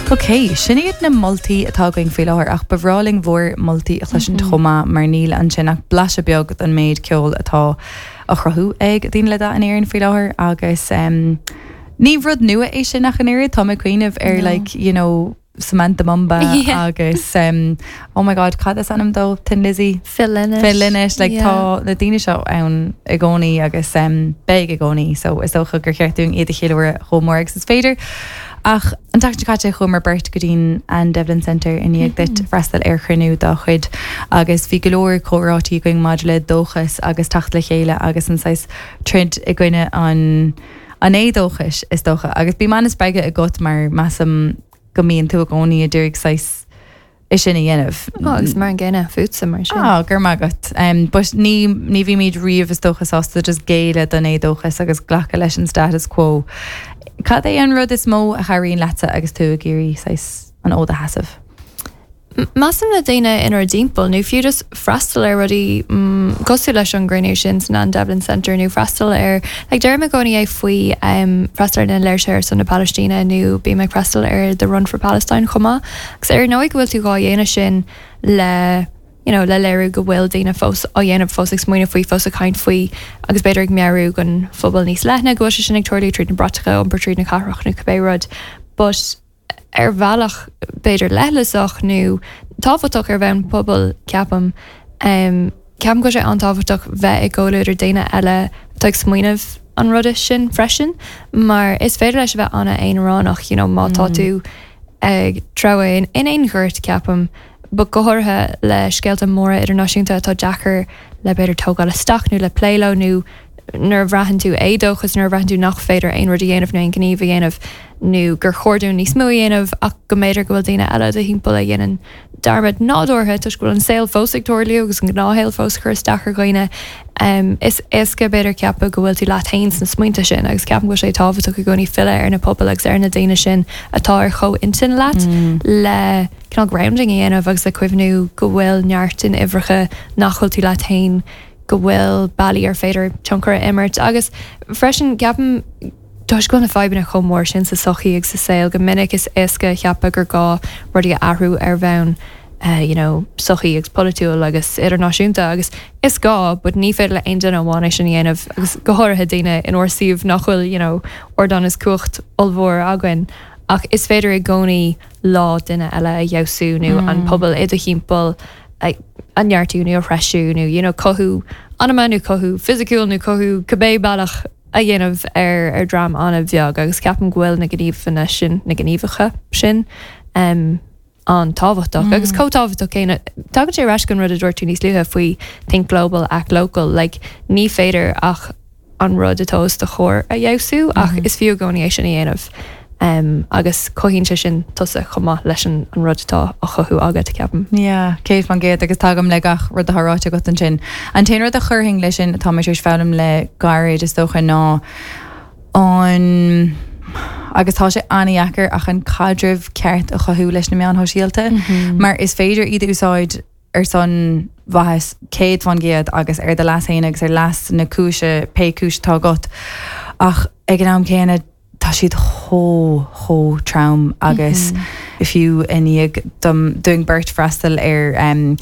Ok, sin iad na moltaí atá againn faoi láthair ach ba bhreá linn bhur moltaí a chloisint chomh maith mar níl ansin ach blaiseadh beag den méid ceoil atá á chruthú ag daoine le dath in Éirinn faoi láthair agus ní rud nua é sin ach an oiread, tá mé ag cuimhneamh ar like, you know, Samantha Mumba agus oh my god cad is ainm dó? Thin Lizzy? Phil Lynott. Phil Lynott, like tá na daoine seo ann i gcónaí agus beidh i gcónaí so is dócha gur cheart dúinn iad a cheiliúradh chomh mór agus is féidir. Ach an tseachtain seo caite chuamar beirt go dtí'n Anne Devlin Centre i ndiaidh duit freastal ar chruinniú dá chuid agus bhí go leor comhráití againn maidir le dóchas agus teacht le chéile agus an saghas troid i gcoinne an an éadóchais, is dócha. Agus bím an-spreagtha agat mar measaim go mbíonn tú i gcónaí ag iarraidh saghas é sin a dhéanamh. Ó, agus mar an gcéanna fútsa mar sin. Á, go raibh maith agat. But ní, ní bhímid riamh is dócha sásta just géilleadh don éadóchas agus glacadh leis an status quo. Cad é an rud is mó a chabhraíonn leatsa agus tú ag iarraidh saghas an fhód a sheasamh? Measaim na daoine inár dtimpeall, nó fiú just freastal ar rudaí cosúil leis an gcruinniú sin san Anne Devlin Centre nó freastal ar, like deirim i gcónaí é faoi freastal ar na léirsithe ar son na Palaistíne nó bím ag freastal ar The Run for Palestine chomh maith. Agus ar ndóigh go bhfuil tú dhá dhéanamh sin le, you know, le léiriú go bhfuil daoine fós á dhéanamh, fós ag smaoineamh faoi, fós ag caint faoi agus b'fhéidir ag meabhrú don phobal níos leithne go bhfuil sé sin ag tarlú tríd na bratacha, iompar tríd na cathrach nó cibé rud. But. ar bhealach b'fhéidir leithleasach nó tábhachtach ar bhonn pobail, ceapaim. Ceapaim go bhfuil sé an-tábhachtach bheith i gcomhluadar daoine eile atá ag smaoineamh an ruda sin freisin, mar is féidir leis a bheith an-aonaránach, you know, má tá tú ag treabhadh in aon ghort, ceapaim, but go háirithe le scéalta móra idirnáisiúnta atá deacair le b'fhéidir tógáil isteach nó le plé leo nó nuair a bhraitheann tú éadóchas, nuair a bhraitheann tú nach féidir aon rud a dhéanamh nó aon ghníomh a dhéanamh nó gur chóir dúinn níos mó a dhéanamh ach go mb'fhéidir go bhfuil daoine eile i do thimpeall a dhéanann dearmad nádúrtha toisc go bhfuil an saol fós ag tarlú agus an gnáthshaol fós ag cur isteach ar dhaoine. Is éasca b'fhéidir ceapadh go bhfuil tú leat féin sna smaointe sin agus ceapaim go bhfuil sé tábhachtach i gcónaí filleadh ar na pobail agus ar na daoine sin atá ar chomhintinn leat le cineál grounding a dhéanamh agus le cuimhniú go bhfuil neart in uimhreacha nach bhfuil tú leat féin go bhfuil bealaí ar féidir tionchar a imirt agus freisin ceapaim toisc go bhfuil na fadhbanna chomh mór sin sa tsochaí agus sa saol go minic is éasca a cheapadh gur gá rudaí a athrú ar bhonn you know sochaí agus polaitiúil agus idirnáisiúnta agus is gá but ní féidir le aon duine amháin é sin a dhéanamh agus go háirithe daoine inár suíomh nach bhfuil you know ardán is cumhacht ollmhór againn ach is féidir i gcónaí lá duine eile a fheabhsú nó an pobal i do thimpeall a neartú nó a threisiú nó you know cothú anama nó cothú fisiciúil nó cothú cibé bealach a dhéanamh ar ar dream an-bheag agus ceapaim go bhfuil na gníomhanna sin, na gníomhacha sin um, an-tábhachtach agus chomh tábhachtach céanna. Tagann sé ar ais go an rud a dúirt tú níos luaithe faoi think global, act local, like ní féidir ach an rud atá os do chomhair a fheabhsú ach is fiú i gcónaí é sin a dhéanamh agus cothaíonn sé sin tusa chomh maith leis an rud atá á chothú agat, ceapaim. Yeah, 100% agus tagaim le gach rud atá ráite agat ansin. An t-aon rud a chuirfinn leis sin atá mé tar éis foghlaim le gairid is dócha ná an, agus tá sé an-dheacair ach an caidreamh ceart a chothú leis na meáin shóisialta mar is féidir iad a úsáid ar son mhaitheas 100% agus ar do leas féin agus ar leas na cúise, pé cúis atá agat. Ach ag an am céanna tá siad chomh, chomh trom agus fiú i ndiaidh dom, dúinn beirt freastal ar an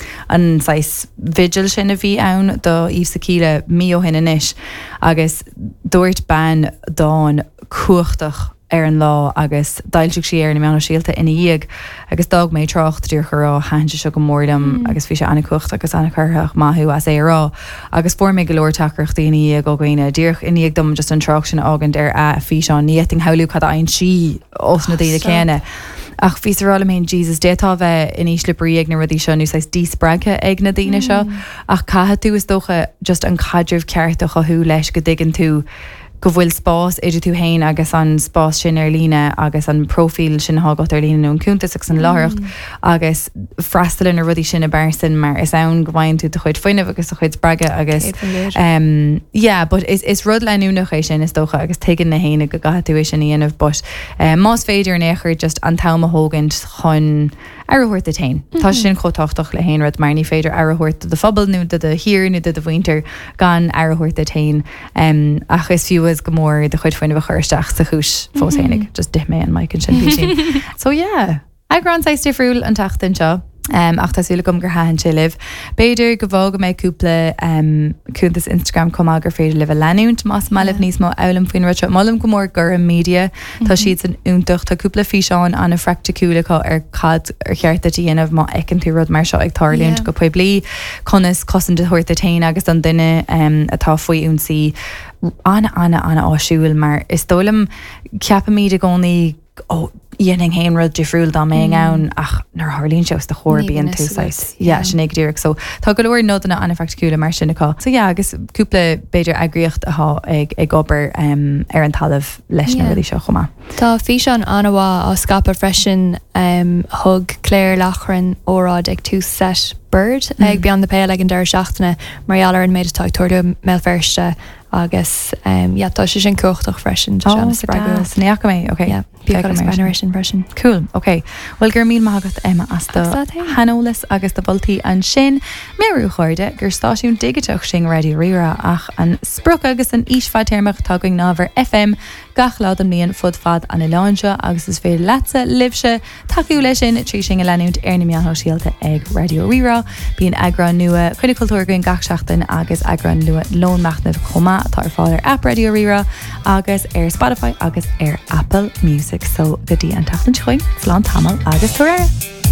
saghas vigil sin a bhí ann do Yves Sakila mí ó shin anois agus dúirt bean dán cumhachtach ar an lá agus d'fhoilsigh sí é ar na meáin shóisialta ina dhiaidh agus d'fhág mé trácht díreach a rá thaitin sé seo go mór liom agus bhí sé an-chumhachtach agus an-chorraitheach, maith thú as é a rá agus fuair mé go leor teachtaireachtaí ina dhiaidh ó dhaoine díreach i ndiaidh dom just an trácht sin a fhágaint ar a físeán, ní fhéadfainn shamhlú cad a fhaigheann sí ós na daoine céanna. Ach bhíos a rá liom féin Jesus d'fhéadfá a bheith in ísle brí ag na rudaí seo nó saghas díspreagtha ag na daoine seo ach caithfidh tú is dócha just an caidreamh ceart a chothú leis go dtuigeann tú go bhfuil spás idir tú féin agus an spás sin ar líne agus an próifíl sin atá agat ar líne nó an cuntas agus an láithreacht agus freastal ar na rudaí sin i bpearsan mar is ann go bhfaigheann tú do chuid fuinnimh agus do chuid spreagadh agus um, yeah, but is, is rud leanúnach é sin is dócha agus tuigeann na héinne go gcaithfidh tú é sin a dhéanamh but um, más féidir in aon chor just an t-am a thógaint chun. Aire a thabhairt duit féin. Tá sé sin chomh tábhachtach le haon rud mar ní féidir aire a thabhairt do do phobal nó do do thír nó do do mhuintir gan aire a thabhairt duit féin. Ach is fiú is go mór do chuid fuinnimh a chur isteach sa chúis fós féinig. Just d'ith mé an mic ansin písín. So yeah. Eagrán saghas difriúil an tseachtain seo. Ach tá súil agam gur thaitin sé libh. B'fhéidir go bhfágfaidh mé cúpla cuntas Instagram chomh maith gur féidir libh a leanúint más maith libh níos mó a fhoghlaim faoin rud seo. Molaim go mór Gorm Media. Tá siadsan iontach. Tá cúpla físeán an-phraiticiúil acu ar cad ar cheart duit a dhéanamh má fheiceann tú rud mar seo ag tarlúint go poiblí, conas cosaint a thabhairt duit féin agus don duine atá faoi ionsaí. An-an-an-áisiúil mar is dóigh liom ceapaimid i gcónaí ó dhéanfainn féin rud difriúil dá mbeinn ann ach nuair a tharlaíonn sé os do chomhair bíonn tú saghas yeah sin é go díreach so tá go leor nodanna an-phraiticiúla mar sin acu. So yeah agus cúpla b'fhéidir eagraíocht atá ag ag obair um, ar an talamh leis na rudaí seo chomh maith. Tá físeán an-mhaith á scaipeadh freisin um, thug Claire Loughran óráid ag tús seit Bird ag Beyond the Pale ag an deireadh seachtaine mar gheall ar an méid atá ag tarlú i mBéal Feirste Agus yeah, tá sé sin cumhachtach freisin, tá sé an-spreagúil. Ní fhaca mé, ok. Yeah, bí ag breathnú air sin freisin. Cool, ok. Bhuel, go raibh míle maith agat, Emma, as do shaineolas agus do mholtaí ansin. Meabhrú, a chairde, gur stáisiún digiteach sinn Raidió Rí-Rá ach an sprioc agus an fhís fadtéarmach atá againn ná a bheith ar FM gach lá den mbliain fud fad an oileáin seo agus is féidir leatsa, libhse, tacú leis sin trí sinn a leanúint ar na meáin shóisialta ag Raidió Rí-Rá. Bíonn eagrán nua Coinne Cultúir againn gach seachtain agus eagrán nua Lón Machnaimh chomh maith atá ar fáil ar aip Raidió Rí-Rá agus ar Spotify agus ar Apple Music. So go dtí an tseachtain seo chugainn, slán tamall agus tabhair aire!